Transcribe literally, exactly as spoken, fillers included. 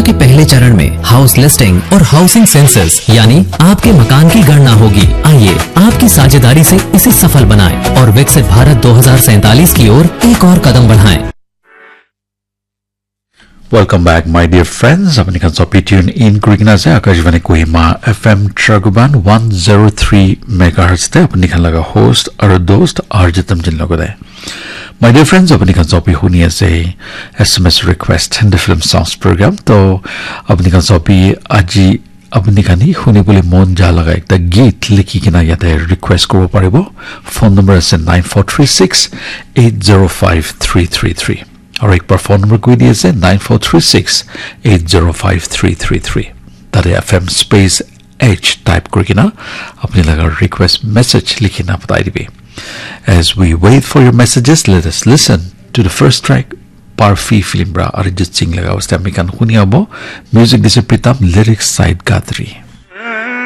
के पहले चरण में हाउस लिस्टिंग और हाउसिंग सेंसस यानी आपके मकान की गणना होगी। आइए, आपकी साझेदारी से इसे सफल बनाएं और विकसित भारत दो हज़ार सैंतालीस की ओर एक और कदम बढ़ाएं। Welcome back, my dear friends. Apni khan sob tune in kurikena ase Akashvani Kohima F M Tragoban one zero three megahertz te apni khan laga host aru dost R J Tamjin logote. My dear friends, apni khan sob huni ase S M S request and the film songs program. To apni khan sob aji apni khan hi huni bole mon ja laga ekta geet likhi kena yate request koribo paribo. Phone number ase nine four three six eight zero five three three three. Aru ek bar phone number koi di ase nine four three six eight zero five three three three. Tate F M space H type kuri kena apni laga request message likhi na patai dibi. As we wait for your messages, let us listen to the first track, Parfi film pra Arijit Singh laga waste ami khan huni abo. Music dise Pritam, lyrics Said Gadri.